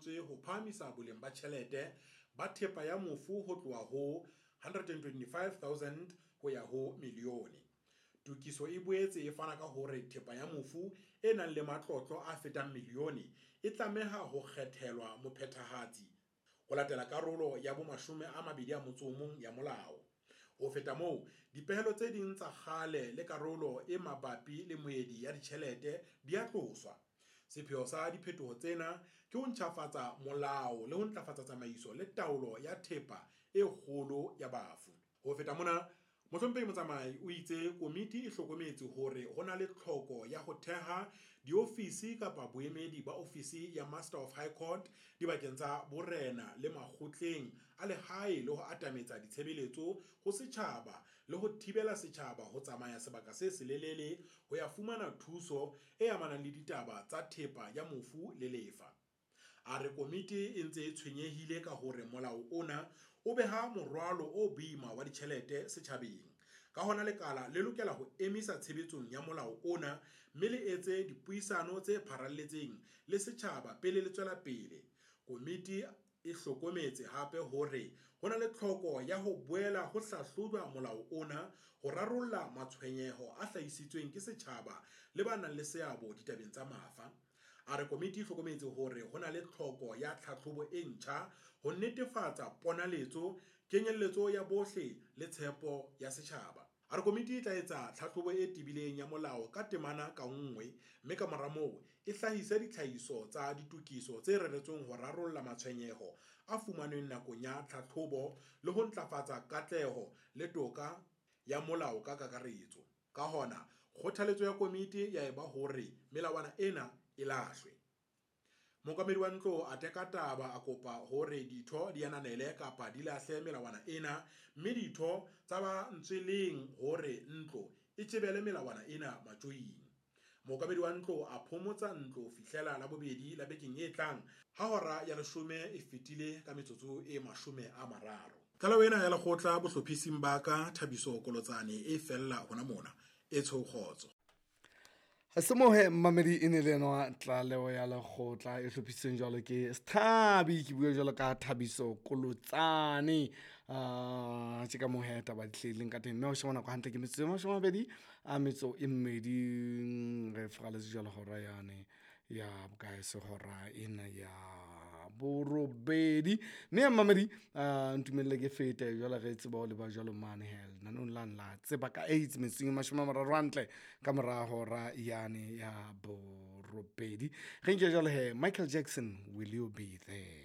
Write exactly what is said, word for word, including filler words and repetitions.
fetotswe ho phahamisa boleng ba tjhelete ba thepa ya mofu ho tloha ho one hundred twenty-five thousand ho ya ho milione. Tokiso e boetse e fana ka hore thepa ya mofu e nang le matlotlo a fetang milione e tlameha ho kgethelwa mophethahatsi ho latela karolo ya bomashome a mabedi a motso o mong ya molao. Ho feta moo, dipehelo tse ding tsa kgale le karolo e mabapi le moedi ya ditjhelete di a tloswa. Sepheo sa diphetoho tsena ke ho ntjhafatsa molao le ho ntlafatsa tsamaiso le taolo ya thepa e kgolo ya bafu. Ho feta mona, Mohlomphehi Motsamai o itse komiti e hlokometse hore ho na le tlhoko ya ho theha diofisi kapa boemedi ba ofisi ya Master of High Court dibakeng tsa borena le makgotleng a lehae le ho atametsa ditshebeletso ho setjhaba le ho thibela setjhaba ho tsamaya sebaka se selelele ho ya fumana thuso e amanang le ditaba tsa thepa ya mofu le lefa. A re komiti e ntse e tshwenyehile ka hore molao ona o beha morwalo o boima wa ditjhelete setjhabeng. Ka hona lekala le lokela ho emisa tshebetsong ya molao ona mme le etse dipuisano tse pharalletseng le setjhaba pele le tswela pele. Komiti e hlokometse hape hore ho na le tlhoko ya ho boela ho hlahlojwa molao ona ho rarolla matshwenyeho a hlahisitsweng ke setjhaba le ba nang le seabo ditabeng tsa mafa. A re komiti e hlokometse hore ho na le tlhoko ya tlhahlobo e ntjha ho netefatsa ponaletso, kenyelletso ya bohle le tshepo ya setjhaba. A re komiti e tla etsa tlhahlobo e tebileng ya molao ka temana ka nngwe mme ka mora moo e hlahise ditlhahiso tsa ditokiso tse reretsweng ho rarolla matshwenyeho a fumanweng nakong ya tlhahlobo le ho ntlafatsa katleho le toka ya molao ka kakaretso. Ka hona, kgothaletso ya komiti ya eba hore melawana ena e lahlwe. Mookamedi wa ntlo a teka taba a kopa hore ditho di ananele kapa di lahle melawana ena mme ditho tsa ba ntsweleng hore ntlo e tjebele melawana ena matjoing. Mookamedi wa ntlo a phomotsa ntlo ho fihlela Labobedi la bekeng e tlang ha hora ya leshome e fetile ka metsotso e mashome a mararo. Tlaleho ena ya lekgotla bohlophising ba ka Thabiso Kolotsane e fella hona mona. E tshweu kgotso. Semohe mmamedi e ne le enwa tlaleho ya lekgotla e hlophisitsweng jwalo ke Sthabi, ke bua jwalo ka Thabiso Kolotsane. Ah, tje ka mohe taba di hlahileng ka teng, mme ho sheba nako hantle ke metsotso e mashome a mabedi a metso e mmedi, re furaletse jwalo hora yane ya bokae se hora ena ya borobedi. Mme mmamedi, ah, ntumelle ke fete jwale re tseba ho leba jwalo mane he lenaneng lane la tseba ka AIDS metsotsong e mashome a mararo hantle ka mora hora yane ya borobedi. Re nke jwalo he Michael Jackson, Will You Be There.